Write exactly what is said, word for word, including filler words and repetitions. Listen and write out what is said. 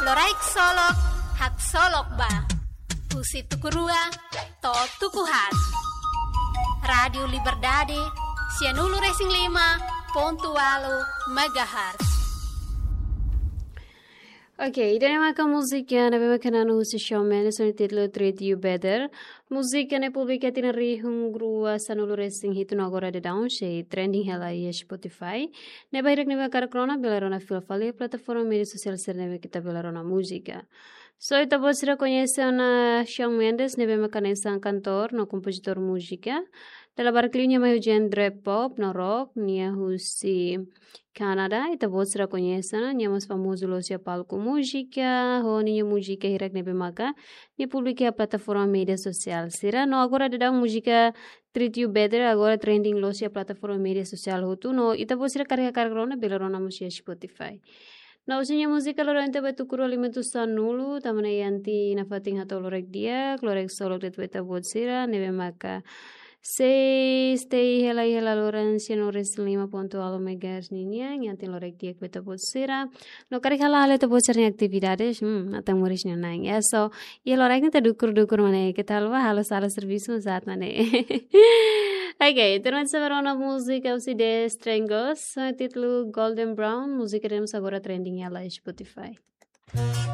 Loraik Solok, haksolok ba. Husi tuku rua to'o tuku haat. Rádiu Liberdade, sianulu-resin-lima pontu ualu megahertz. Oke, ida-ne'e maka múzika ne'ebé maka na'an husi Shawn Mendes ho nia títulu Treat You Better. Múzika ne'e publika tinan rihun rua sanulu-resin-hitu no agora daudaun sei trending hela iha Spotify. Ne'e ba hirak ne'ebé hakarak rona bele rona fila fali iha plataforma média sosiál sira ne'ebé ita bele rona múzika. So ita-boot sira koñese ona Shawn Mendes ne'ebé maka hanesan kantór no kompozitór múzika. Dala barak liu nia mai husi genre pop no rock, nia husi Kanadá, ita-boot sira koñese ona, nia mós famozu loos iha palku múzika, ho ninia múzika hirak ne'ebé maka nia publika iha plataforma média sosiál sira. No agora daudaun múzika Treat You Better agora trending loos iha plataforma média sosiál hotu. No ita-boot sira karik hakarak rona bele rona mós iha Spotify. No husi nia múzika loron ita ba tuku rua lima to'o sanulu, tanba ne'e iha ita-nia fatin hato'o loraik di'ak, Loraik Solok de'it ba ita-boot sira ne'ebé maka sei stay hela iha laloran sianulu-resin-lima pontu ualu megahertz ninian, iha ita-nia loraik di'ak ba ita-boot sira. No karik hala'o halo ita-boot sira-nia atividades, hmm, ita moris nia nang. Ya, so, iha loraik ne'e ita dukur-dukur mak ne'e, keta haluha halo sala servisu saat mak ne'e. Oke, terus sebenarnya múzika husi The Stranglers, ho títulu Golden Brown, múzika ne'e mós agora trending iha Spotify.